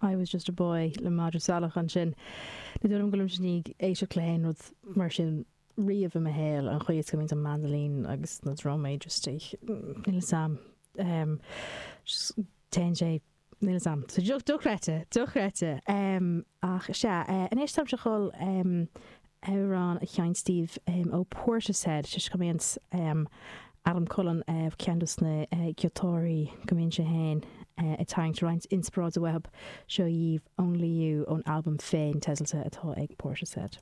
I was just a boy le Madra Salach ansin. Ní dóigh liom go bhfuilimse i ndiaidh éisteacht le haon rud mar sin riamh i mo shaol, an chaoi is go mbíonn an mandolin agus na drumaí just ag, níl 'fhios a'm, just téann sé, níl 'fhios a'm. So dochreidte, dochreidte. Ach sea, anois táimse ag dul amhrán a sheinnt daoibh ó Portishead, toisc go mbíonn Adam Cullen, ceann dos na giotáraí, go mbíonn sé féin ag tarraingt roinnt inspioráide uathu. Seo dhaoibh Only You ón albam féin teidealta atá ag Portishead.